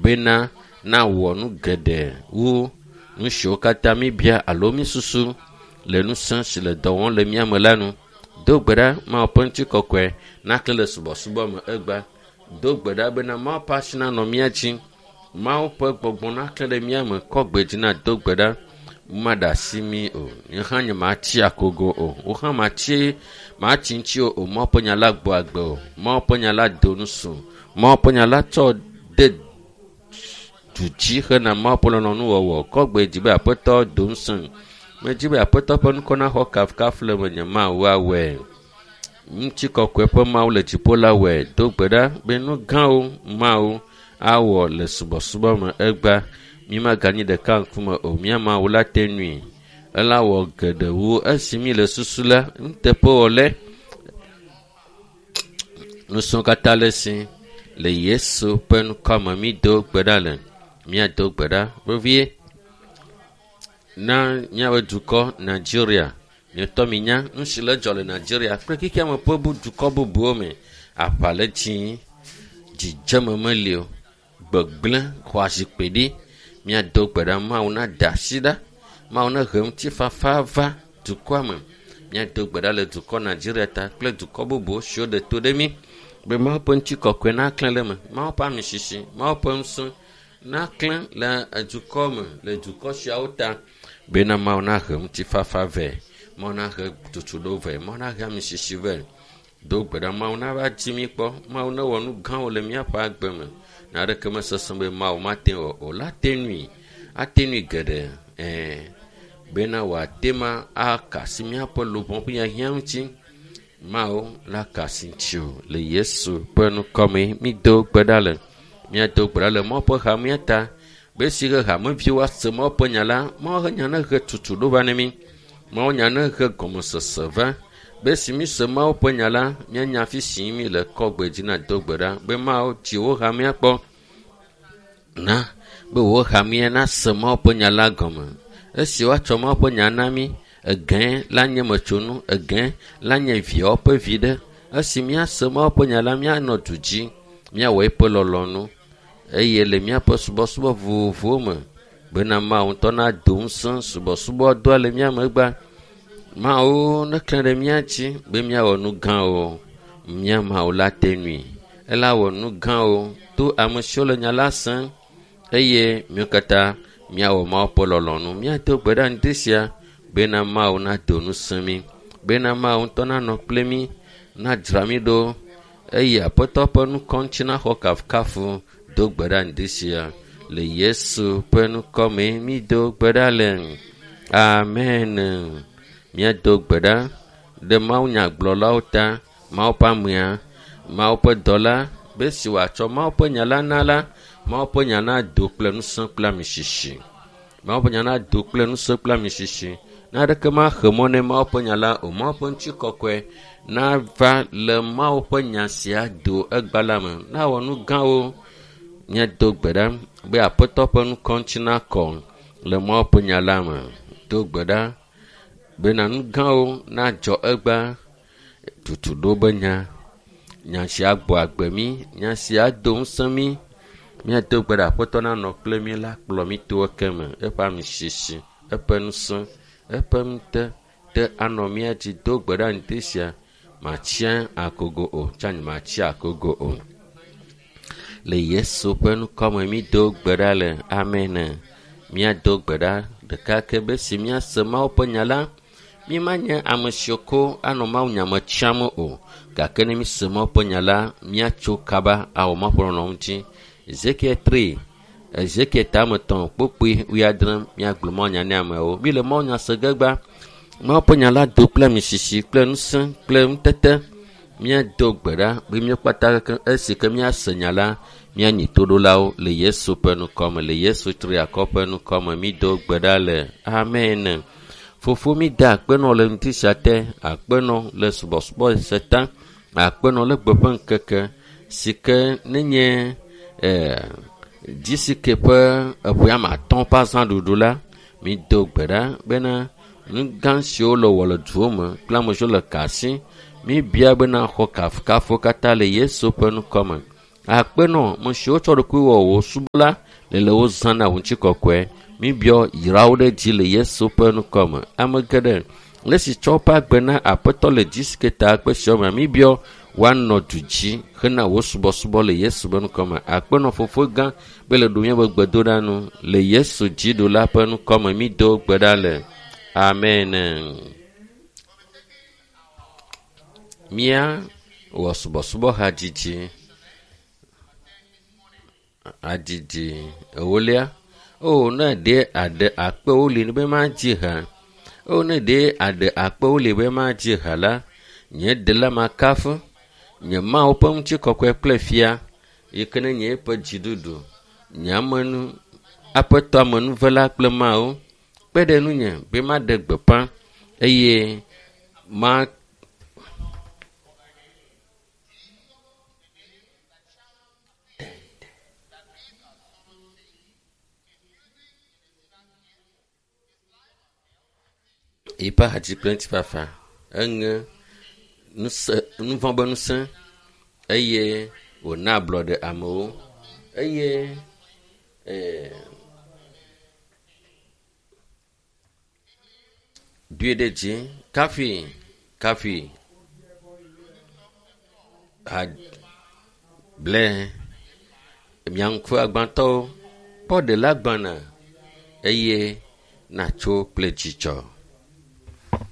bena nawɔ nu geɖe wu nu siwo katã míbia alo mísusu le ŋusẽ si le dɔ wɔm le mía me la nu. Do gbe ɖa Mawu ƒe ŋutikɔkɔe naklẽ le subɔsubɔ me egbea. Do gbe ɖa bena Mawu ƒe asi nanɔ mía dzi. Mawu ƒe gbɔgbɔ naklẽ ɖe mía me. Kɔ gbe dzi nàdo gbe ɖa. Maɖe asi mí o. Nye hã nyematsi akogo o. Wò hã matsi matsi ŋuti o. Mawu ƒe nya la gbɔ agbe o. Mawu ƒe nya la do nusu. Mawu ƒe nya la tsɔ de du dzi hena Mawu ƒe lɔlɔ̃nuwɔwɔ. Kɔ gbe dzi be Aƒetɔ do ŋusẽ. Medzi be Aƒetɔ ƒe ŋkɔ naxɔ kafukafu le menye. Mawu awɔe. Ŋutikɔkɔe ƒe Mawu le dziƒo la wɔe. Do gbe ɖa be nu gãwo Mawu awɔ le subɔsubɔ me egbea. Mímaganyi ɖeka ŋkume o. Mía Mawu la te nui. Ela wɔ geɖe wu esi mí le susu la. Nuteƒewɔlɛ. Nusrɔ̃ katã le esi le Yesu ƒe ŋkɔ me mído gbe ɖa le. Míado gbe ɖa vevie na míaƒe dukɔ Nigeria. Mietɔ minya nu si le dzɔ le Nigeria kple xexea me ƒe bu dukɔ bubuwo me. Aʋa le dzi, dzidzeme meli o, gbegblẽ xɔ azikpui ɖi. Míado gbe ɖa Mawu nada asi ɖa. Mawu nehe ŋutifafa va dukɔa me. Míado gbe ɖa le dukɔ Nigeria ta kple dukɔ bubuwo siwo ɖe to ɖe mí be Mawu ƒe ŋutikɔkɔe naklẽ le eme. Mawu ƒe amisisi, Mawu ƒe ŋusẽ naklẽ le dukɔ me le dukɔ siawo ta bena Mawu nahe ŋutifafa vɛ. Mawu nahe tutuɖo vɛ. Mawu nahe amisisi vɛ. Do gbe ɖa Mawu nava dzi mí kpɔ. Mawu newɔ nu gãwo le míaƒe agbe me. Naneke mesesẽ be Mawu mate ŋu o la te nui. Ate nui geɖe ɛɛ bena wòate ma aka asi míaƒe luʋɔ ƒe hiahiã ŋuti. Mawu la ka asi ŋutiwò le Yesu ƒe ŋkɔ me. Mído gbe ɖa le. Míado gbe ɖa le Mawu ƒe hamea ta be esi he hameviwo ase Mawu ƒe nya la, Mawu ƒe nya nehe tutuɖo va ne mí. Mawu nya nehe gɔmesese va be esi míse Mawu ƒe nya la, míanya afi si míle kɔ gbe dzi na do gbe ɖa be Mawu dzi wò hamea kpɔ na be wò hamea nase Mawu ƒe nya la gɔme. Esi woatsɔ Mawu ƒe nya na mí, egẽ la nye metsonu, egẽ la nye viawo ƒe viɖe. Esi míase Mawu ƒe nya la, míanɔ du dzi, míawɔ eƒe lɔlɔ̃nu eye le míaƒe subɔsubɔ vovovowo me bena Mawu ŋutɔ nado ŋusẽ subɔsubɔdɔa le mía megbea. Mawu neklẽ ɖe mía dzi be míawɔ nu gãwo. Mía Mawu la te nui. Ela wɔ nu gãwo to ame siwo le nya la sem eye míwo katã míawɔ Mawu ƒe lɔlɔ̃nu. Míado gbe ɖa ŋdi sia bena Mawu nado ŋusẽ mí, bena Mawu ŋutɔ nanɔ kple mí, nadzra mí ɖo eye Aƒetɔ ƒe ŋkɔ ŋuti naxɔ kafukafu. Do gbe ɖa ŋdi sia le Yesu ƒe ŋkɔ me mído gbe ɖa le. Amen. Míado gbe ɖa ɖe mawunyagblɔlawo ta, Mawu ƒe amea, Mawu ƒe dɔla, be esi wòatsɔ Mawu ƒe nya la na la, Mawu ƒe nya nado kple ŋusẽ kple amisisi. Mawu ƒe nya nado kple ŋusẽ kple amisisi. Naneke maxe mɔ ne Mawu ƒe nya la o. Mawu ƒe ŋutikɔkɔe nava le Mawu ƒe nya sia do egbea la me. Nawɔ nu gãwo. Míado gbe ɖa be Aƒetɔ ƒe ŋkɔ ŋuti nakɔ le Mawu ƒe nya la me. Do gbe ɖa bena nu gãwo nadzɔ egbea. Tutuɖo be nya. Nya sia gbɔ agbe mí. Nya sia do ŋusẽ mí. Míado gbe ɖa Aƒetɔ nanɔ kple mí la kplɔ mí to eke me. Eƒe amisisi, eƒe ŋusẽ, eƒe ŋute te anɔ mía dzi. Do gbe ɖa ŋdi sia. Matsia akogo o. Tsa matsia akogo o. Le Yesu ƒe ŋkɔ me mído gbe ɖa le. Amen. Míado gbe ɖa ɖeka ke be si míase Mawu ƒe nya la, mímanye ame siwo ko anɔ Mawu nya me tsiam o. Gake ne míse Mawu ƒe nya la, míatso kaba awɔ Mawu ƒe lɔlɔ̃nu ŋuti. Ezekiel 3, Ezekiel tame tɔ̃ kpokpui wuiadre míagblɔ Mawu nya ne amewo. Míle Mawu nya se ge gbã. Mawu ƒe nya la do kple amisisi kple ŋusẽ kple ŋutete. Míado gbe ɖa be míwo kpata kekeŋ esi ke míase nya la, míanyi toɖolawo le Yesu ƒe ŋkɔ me, le Yesu triakɔ ƒe ŋkɔ me. Mído gbe ɖa le. Amen. Fofo mída akpenɔ le ŋdi sia te, akpenɔ le subɔsubɔ se ta, akpenɔ le gbe ƒe ŋkeke si ke nenye GCK ƒe eƒe ame atɔ̃ ƒe azãɖuɖu la, mído gbe ɖa bena nu gã siwo le wɔ le duwo me kple ame siwo le kasi, míbia bena xɔ kafukafu katã le Yesu ƒe ŋkɔ me. Akpenɔ me siwo tsɔ ɖokui wɔ wò subɔla le le wo zã na wò ŋutikɔkɔe. Míbiɔ yrawo ɖe dzi le Yesu ƒe ŋkɔme. Ame geɖe le si tsɔ woƒe agbe na Aƒetɔ le dzi si ke ta kpe siawo me, míbiɔ woanɔ du dzi hena wò subɔsubɔ le Yesu ƒe ŋkɔme. Akpenɔ fofo gã be le ɖu míaƒe gbedoɖa nu le Yesu dziɖula ƒe ŋkɔme mído gbe ɖa le. Amen. Mía wɔ subɔsubɔha dzidzi adzidzi ewolia. O ne ɖe aɖe akpewo li be madzi ha. O ne ɖe aɖe akpewo li be madzi ha la, nye ɖela makafu, nye Mawu ƒe ŋutikɔkɔe kple fia yi ke ne nye eƒe dziɖuɖu, nye amenu, aƒetɔ amenuvela kple Mawu kpe ɖe nunye be maɖe gbeƒã eye ma yiƒe ahadzi kple ŋutifafa eŋe nusẽ nuvɔ̃ be ŋusẽ eye wòna ablɔɖe amewo eye ee, doe ɖe dzi kafi kafi ha ble mia ŋku agbãtɔwo kpɔ ɖela gbana eye natso kple dzidzɔ.